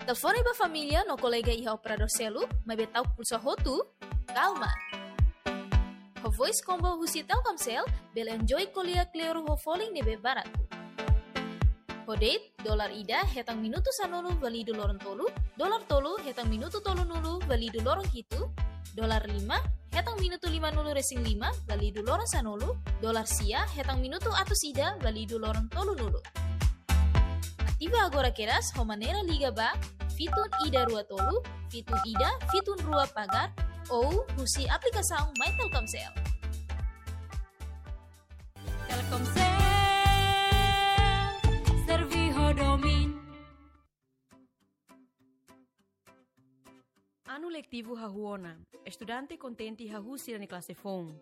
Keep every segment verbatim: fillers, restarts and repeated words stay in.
Telefone ba família no kolega iha operadór seluk, maibé ta'uk pulsa hotu? Kalma. Ho Voice Combo husi Telkomsel, bele enjoy ko'alia kleur ho folin ne'ebé baratu. Ho date, dolar ida hetan minutu sanulu válidu loron tolu, dolar tolu hetan minutu tolunulu válidu loron hitu, dolar lima hetan minutu limanulu resin lima válidu loron sanulu, dolar sia hetan minutu atus ida válidu loron tolunulu. Ativa agora kedas ho maneira liga ba fitun ida rua tolu, fitun ida, fitun rua pagar, ou husi aplikasaun My Telkomsel. Telkomsel, serve ho domin. Anu letivu hahú ona, estudante kontente hahú sira-nia klase foun.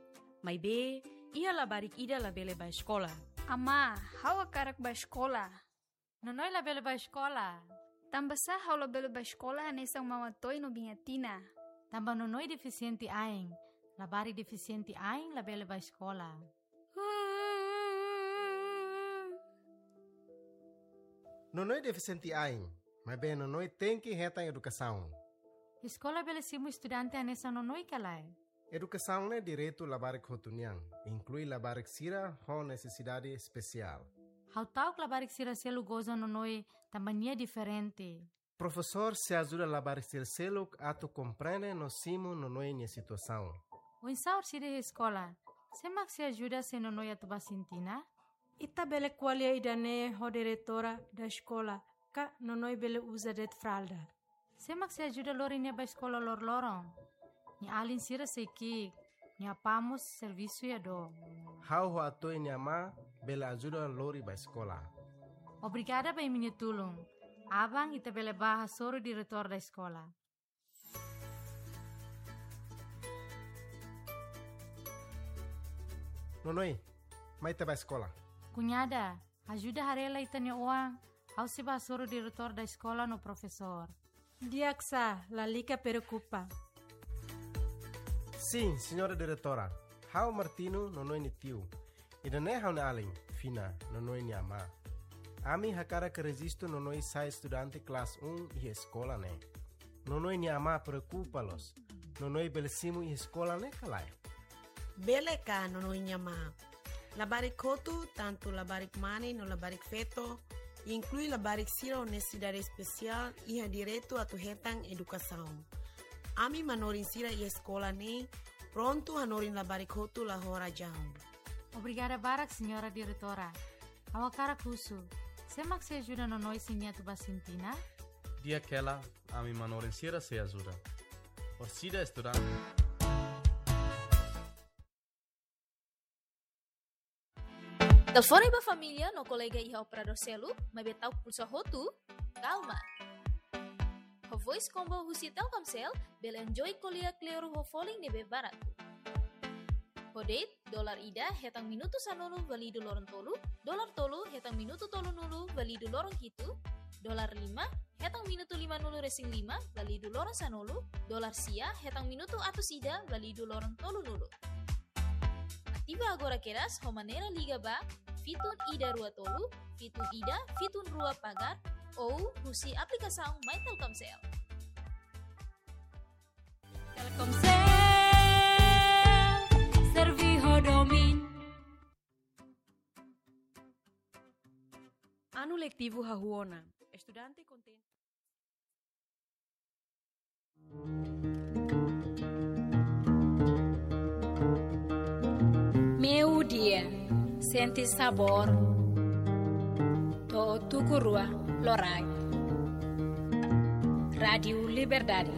Maibé, iha labarik ida labele bá eskola. Amá, ha'u hakarak bá eskola. Nonoi labele bá eskola? Tanbasá ha'u labele bá eskola hanesan Mama Toy no Biña Tina? Tanba nonoi defisiente ain. Labarik defisiente ain labele bá eskola. Nonoi defisiente ain, maibé nonoi tenke hetan edukasaun. Eskola bele simu estudante hanesan nonoi ka lae? Edukasaun ne'e direitu labarik hotu nian, inklui labarik sira ho nesesidade espesiál. Ha'u ta'uk labarik sira selu goza nonoi tanba nia diferente. Profesór sei ajuda labarik sira seluk atu komprende no simu nonoi nia situasaun. Oinsá orsida iha eskola, sé mak sei ajuda se nonoi atu bá sintina? Ita bele ko'alia ida-ne'e ho diretora da eskola, ka nonoi bele uza de'it fralda. Sé mak sei ajuda lori nia bá eskola loroloron? Nia alin sira sei ki'ik, nia apá mós servisu iha dook. Ha'u ho Atoy nia amá bele ajuda lori bá eskola. Obrigada ba imi-nia tulun. Aban ita bele bá hasoru diretór da eskola. Nonoi, mai ita bá eskola. Kuñada, ajuda haree lai ita-nia oan, ha'u sei bá hasoru diretór da eskola no profesór. Di'ak sá, lalika preokupa. Sin, señora diretora. Ha'u Martino, nonoi nia tiu. Ida-ne'e ha'u-nia alin, Fina, nonoi nia amá. Ami hakarak rejistu nonoi sai estudante klase um iha eskola ne'e. Nonoi nia amá preokupa loos. Nonoi bele simu iha eskola ne'e ka lae? Bele ka, nonoi nia amá. Labarik hotu, tantu labarik mane no labarik feto, inklui labarik sira ho nesesidade espesiál, iha direitu atu hetan edukasaun. Ami manorin sira iha eskola ne'e prontu hanorin labarik hotu la ho razaun. Obrigada barak, señora diretora. Ha'u hakarak husu, sé mak sei ajuda nonoi se nia atu bá sintina? Di'ak hela, ami manorin sira sei ajuda. Orsida estudante. Telefone ba família no kolega iha operadór seluk, maibé ta'uk pulsa hotu? Kalma. Ho Voice Combo husi Telkomsel, bele enjoy ko'alia kleur ho folin ne'ebé baratu. Ho date, dolar ida hetan minutu sanulu válidu loron tolu, dolar tolu hetan minutu tolunulu válidu loron hitu, dolar lima hetan minutu limanulu resin lima válidu loron sanulu, dolar sia hetan minutu atus ida válidu loron tolunulu. Ativa agora kedas ho maneira liga ba fitun ida rua tolu, fitun ida, fitun rua pagar, ou husi aplikasaun My Telkomsel. Telkomsel, serve ho domin. Anu letivu hahú ona, estudante kontente. Meiudia, sente sabór to'o tuku rua loraik. Rádiu Liberdade,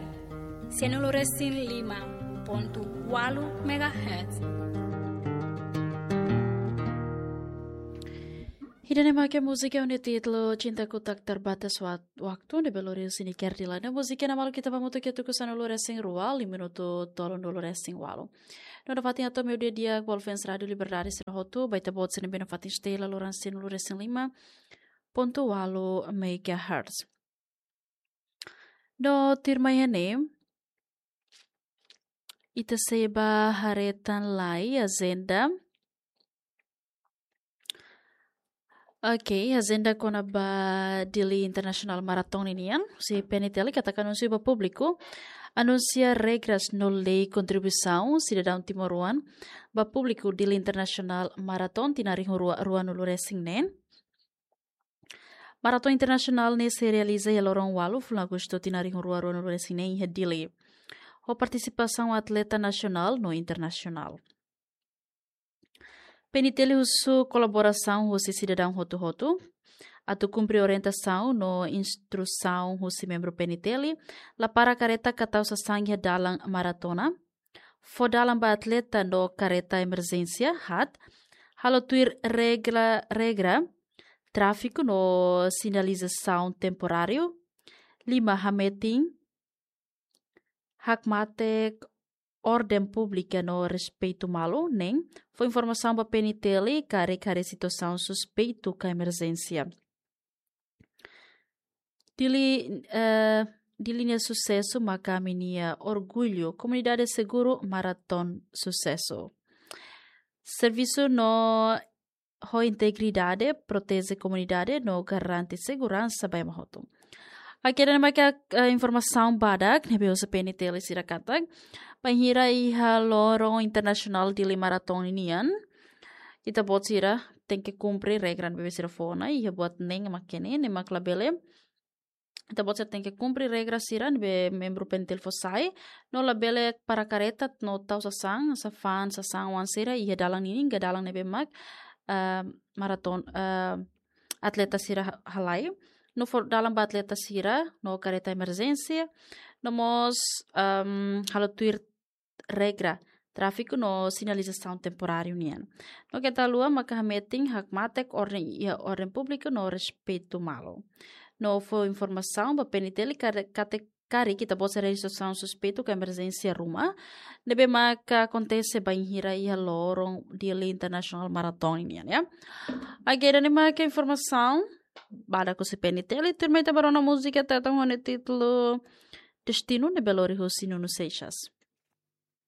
sanulu resin lima pontu ualu megahertz. Ida-ne'e mak múzika ho nia títulu Cintaku Tak Terbatas Wa-, Waktu, ne'ebé lori husi Niker Dilan. Múzika ne'e maluk ita bá hamutuk iha tuku sanulu resin rua, liu minutu tolunulu resin ualu. No nafatin atu meiudia di'ak ba fans Rádiu Liberdade sira hotu, ba ita-boot sira ne'ebé nafatin stella loran sanulu resin lima pontu ualu megahertz. No tuirmai ne'e, ita sei bá haree tan lai ajenda. Ok, ajenda kona-ba Dili International Marathon ninian, husi P N T L katak anunsiu ba públiku, anunsia regras no lei kontribuisaun sidadaun timoroan ba públiku Dili International Marathon tinan rihun rua ruanulu resin neen. Marathon internasionál ne'e sei realiza iha loron ualu fulan Agostu tinan rihun rua ruanulu resin neen iha Dili, ho partisipasaun atleta nasionál no internasionál. P N T L husu kolaborasaun husi sidadaun hotu-hotu atu kumpre orientasaun no instrusaun husi membru P N T L, la para kareta ka tau sasán iha dalan maratona, fó dalan ba atleta no kareta emerjénsia, hat, halo tuir regra, regra tráfiku no sinalizasaun temporáriu, lima, hametin hakmatek orden públika no respeitu malu, neen, fó informasaun ba P N T L karik haree situasaun suspeitu ka emerjénsia. Dili, eh, Dili nia susesu maka ami-nia orgullu, komunidade seguru, maraton susesu. Servisu no ho integridade, proteje komunidade no garante seguransa ba ema hotu. Oke, ida-ne'e maka, eh, informasaun badak ne'ebé husi P N T L sira katak, bainhira iha loron internasionál Dili Marathon ninian, ita-boot sira tenke kumpre regra ne'ebé sira fó ona, iha buat neen mak ne'e, ne'e mak labele, ita-boot sira tenke kumpre regra sira ne'ebé membru P N T L fó sai, no labele para kareta no tau sasán, safan, sasán oan sira iha dalan ninin ka dalan ne'ebé mak, eh, maraton, eh, atleta sira ha-, halai, no fó dalan ba atleta sira no kareta emerjénsia, no mós, ehm, halo tuir regra tráfiku no sinalizasaun temporáriu nian. No keta haluha maka hametin hakmatek orden iha orden públika no respeitu malu. No fó informasaun ba P N T L kare-, katak karik ita-boot sira haree situasaun suspeitu ka emerjénsia ruma ne'ebé maka akontese bainhira iha loron Dili International Marathon nian, ya. Oke, ida-ne'e maka informasaun badak husi P N T L, tuirmai ita bá rona múzika Tetun ho nia títulu Destinu ne'ebé lori husi Nuno Seixas.